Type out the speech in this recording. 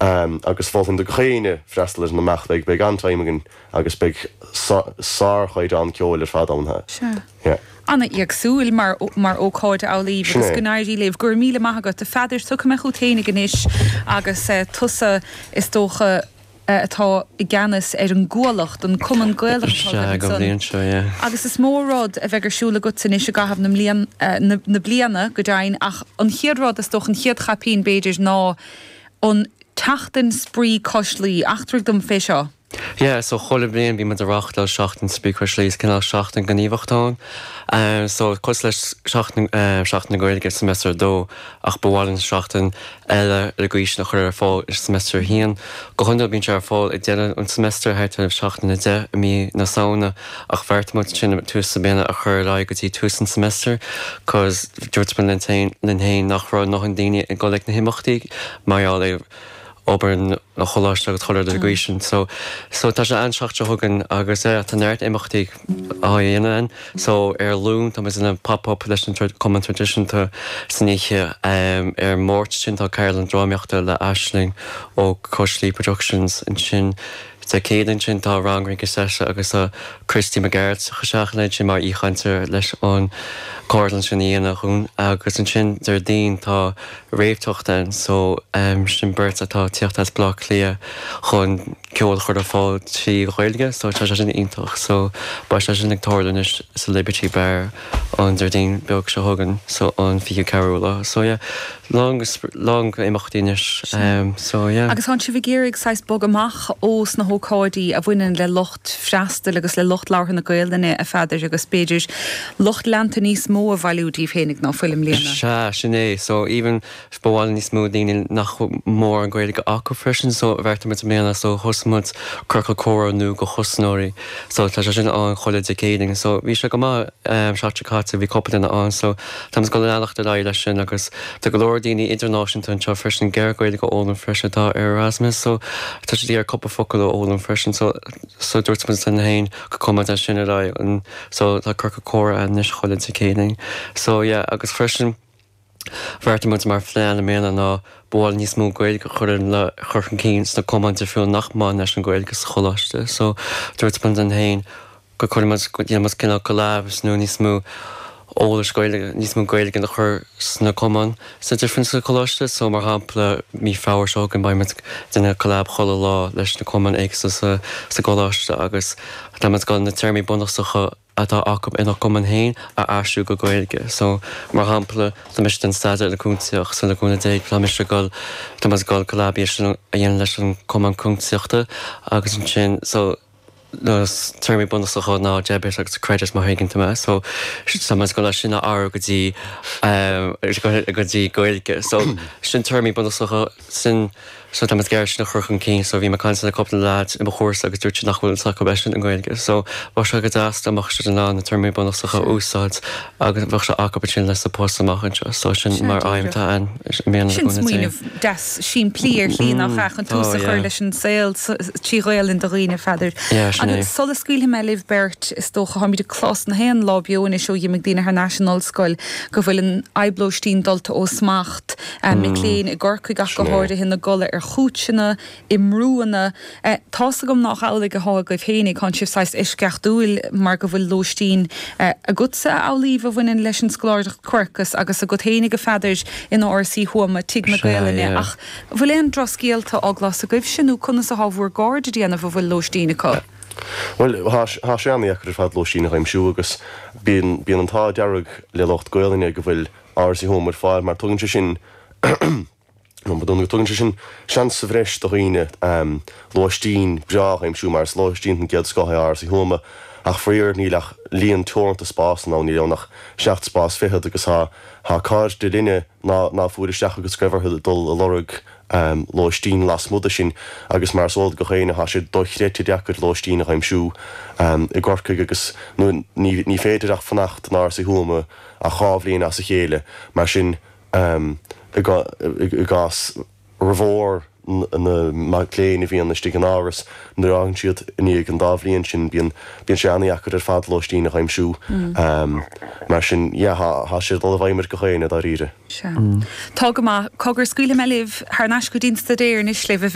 Agus mholfainn do gach éinne freastal ar an imeacht, beidh, beidh an-time againn agus beidh sárchaighdeán ceoil ar fad ann. Sea. Yeah. An-éagsúil mar, mar ócáid a Amhlaoibh Sin agus é. go n-éirí libh. Go raibh míle maith agat. A Pheadair, tiocfaidh mé chugat fhéinig anois agus tusa is dócha atá i gceannas ar an gCuallacht, an Cumann Gaelach atá Sea, agaibh don ansan. bhliain seo, yeah. Agus is mó rud a bheidh ar siúl agatsa anois i gcaitheamh na mblian, na, na bliana, go deimhin, ach an chéad rud, is dócha, an chéad chaipín, b'fhéidir, ná an tSeachtain Spraoi Cois Laoi. Eachtraigh dom fé seo. Yeah, so chuile bhliain bíonn muid ag reáchtáil Seachtain Spraoi Cois Laoi, is cineál seachtain gníomhachta ann. So cosúil le seachtain, Seachtain na Gaeilge semester 2 ach ba mhaith linn seachtain eile ar an gcaoi sin a chur ar fáil i semester 1. Go hiondúil bíonn sé ar fáil ag deireadh an semester, thart ar seachtain 10 i mí na Samhna ach bheartaigh muid sin tús na bliana a chur ar aghaidh go dtí tús an semester cos dúirt muid linn féin linn féin nach raibh a ndóthain daoine ag dul ag na himeachtaí mar gheall ar obair an choláiste agus chuile rud ar an gcaoi sin. So, so tá sé an tseachtain seo chugainn agus eh tá neart imeachtaí á dhéanamh ann. So ar Luan tá muid ag déanamh pop up leis an Cumann Traidisiúnta san oíche. Ar an Máirt sin tá ceardlann drámaíochta le Aisling ó Cois Laoi Productions ansin. Dé Céadaoin ansin tá rang rince seite agus tá Christy Mac Gearailt ag teacht isteach ansin mar aoichainteoir leis an ceardlann sin a dhéanamh dhúinn. Agus ansin Déardaoin tá Réamhtheacht ann so sin beirt atá ag tíocht as Baile Átha Cliath chun ceol a chur ar fáil trí Ghaeilge so tá sé sin iontach so beidh sé sin ag tarlú anois sa Liberty Bar an Déardaoin beag seo chugainn so an 24ú lá so yeah lán lán imeachtaí anois so yeah. Agus tánn sibh ag iarraidh saghas bogadh amach ós na hócáidí a bhaineann le lucht freastail agus le lucht labhartha na Gaelainne a Pheadair agus b'fhéidir lucht leanta níos mó a bhailiú díbh fhéinig ná fuil i mbliana. Sea, sin é. So even ba mhaith linn níos mó daoine nach bhfuil mórán Gaeilge acu freisin so bheartaigh muid i mbliana so thosaigh muid ciorcal comhrá nua do thosnóirí so tá sé sin ann chuile Dé Céadaoin so bhí sé go maith seachtain seo caite bhí cúpla duine ann so tá muid ag dul a leanacht ar aghaidh leis sin agus tá go leor daoine idirnáisiúnta anseo freisin ag iarraidh Gaeilge a fhoghlaim freisin atá ar Erasmus so tá siad ag iarraidh cúpla focal a fhoghlaim freisin so so dúirt muid linn féin go gcuirfidh muid é sin ar aghaidh so tá ciorcal comhrá anois chuile Dé Céadaoin so yeah agus freisin Bheartaigh muid mar phlean i mbliana ná ba mhaith linn níos mó Gaeilge a chur le chur chun cinn sna cumainn difriúla nach mbaineann leis an Ghaeilge sa choláiste. So dúirt muid linn féin go gcuirfidh muid, go ndéanfaidh muid cineál collabs nó níos mó eolais Gaeilge, níos mó Gaeilge a chur sna cumainn sa difriúil sa choláiste. So mar shampla mí Feabhra seo chugainn beidh muid ag déanamh collab chuile lá leis na cumainn éagsúla sa sa gcoláiste agus tá muid ag dul na téarmaí bunúsacha atá acu ina gcumann féin a aistriú go Gaeilge. So, mar shampla, tá mise ag déanamh staidéar ar an cuntasaíocht, so le cúnamh Dé tá mise ag dul, tá muid ag dul collab a dhéanamh leis an cumann cuntasaíochta agus ansin, so, na téarmaí bunúsacha ná debit agus credit má thuigeann tú mé. So, tá muid ag dul é sin a athrú go dtí, go dtí Gaeilge. So, sin téarmaí bunúsacha, sin. So tá muid ag iarraidh sin a chur chun cinn. So bhí mé ag caint le cúpla leaid i mo chúrsa agus dúirt siad nach bhfuil fhios acu é sin i nGaeilge. So bheadh sé go deas dá mbeadh siad in ann na téarmaí bunúsacha a úsáid agus bheadh sé acu ansin leis sa post amach anseo. So sin Sea, mar aidhm díreach. atá ann i mbliana le Sin cúnamh Dé. smaoineamh deas simplí ar shlí nach ea, chun Tá, tús a chur yeah. leis an saol trí Ghaelainn do dhaoine, a Pheadair. Yeah, sin é. Agus sula scaoilfidh mé libh beirt, is dócha, táimid ag clos na haon lá beo anois ó dh'imigh daoine thar n-ais an ollscoil go bhfuil an fhadhb lóistín dulta ó smacht. Mic léinn i gCorcaigh ach go háirithe ina gcodladh ar chúitseanna, i mbrúanna. Tá's agam nách amhlaidh athá agaibh fhéinig, thánn sibh saghas eisceachtúil mar go bhfuil lóistín agatsa, a Amhlaoibh, a bhaineann leis an scoláireacht Quercus agus agat fhéinig, a Pheadair, in Áras Uí Thuama, Tigh na Gaelainne. Ach an bhfuil aon drochscéalta á gclos agaibhse nó conas athá bhúr gcairde ag déanamh a bhfuil lóistín acu? Bhuel, thá sé an-dheacair ar fad lóistín a dh'aimsiú agus bíonn bíonn an t-ádh dearg le lucht Gaelainne go bhfuil Áras Uí Thuama ar fáil mar tugann sé sin tugann sé sin seans sa bhreis do dhaoine lóistín breá a aimsiú mar is lóistín den gcéad scoth é Áras Uí Thuama ach faraor níl ach líon teoranta spásanna ann, níl ann ach seacht spás fichead agus tá tá cairde linne ná ná fuair isteach agus go raibh orthu dul a lorg lóistín lasmuigh de sin agus mar is eol do gach éinne tá sé dochreidte deacair lóistín a aimsiú i gCorcaigh agus ní ní féidir ach fanacht in Áras Uí Thuama ach 2 bhliain as a chéile, mar sin i gcás formhór na mac léinn a bhíonn istigh in áras, nuair a fhágann siad i ndiaidh an dá bhliain sin, bíonn bíonn sé an-dheacair ar fad lóistín a aimsiú. Mar sin, yeah, tá sé ag dul i bhfeidhm ar gach éinne, dáiríre. Sea. Tá go maith. Cogar, scaoilfidh mé libh thar n-ais go dtí an staidéar anois libh, a.